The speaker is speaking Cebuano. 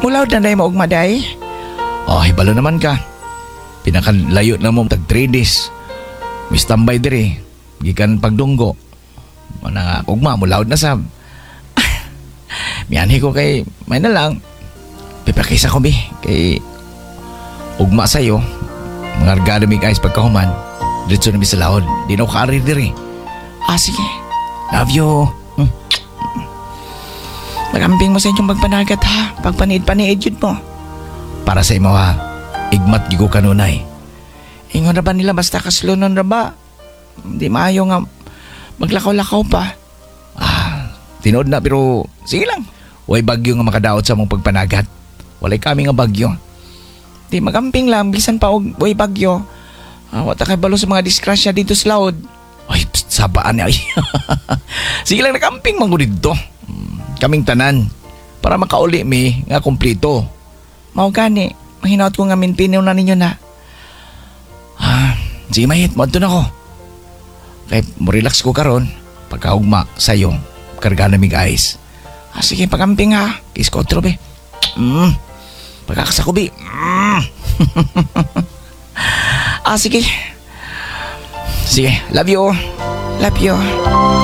Mulaod na day mo ugma, day. Oh, hibalo naman ka. Pinakalayo na mo tag 3 days. Mi standby diri. Gikan pagdunggo. Mana nga ugma mulaod na sab. Mianhi ko kay may na lang. Pipakisa ko bi kay ugma sayo. Mga argado mig ice pagkahuman. Diretso na mi sa laod. Di na ko kaari diri. Ah, sige. Love you. Magamping mo sa inyong pagpanagat ha. Pagpaniid-paniid yun mo. Para sa imo ha. Igmat gyud ko kanunay. Ingon ra ba nila basta kaslunon ra ba? Hindi maayo nga maglakaw-lakaw pa. Ah, tinuod na pero sige lang. Way bagyo nga makadaot sa mong pagpanagat. Walay kami nga bagyo. Di magamping lang bisan pa og way bagyo. Ah, wa ta kay balo sa mga disgrasya dito sa laod. Ay, pst, sabaan niya. Ay. Sige lang, nakamping man ko dito. Kaming tanan. Para makauli mi nga kumplito. Mao gani, mahinaot ko nga minpinaw na ninyo na. Ah, sige mahit, mo na ko. Kay mo relax ko karon pagkaugma sayo. Karga na mig ice. Ah, sige, pagamping ha. Kiss ko be. Pagkakasa ko bi. Ah, sige. Sige, love you. Love you.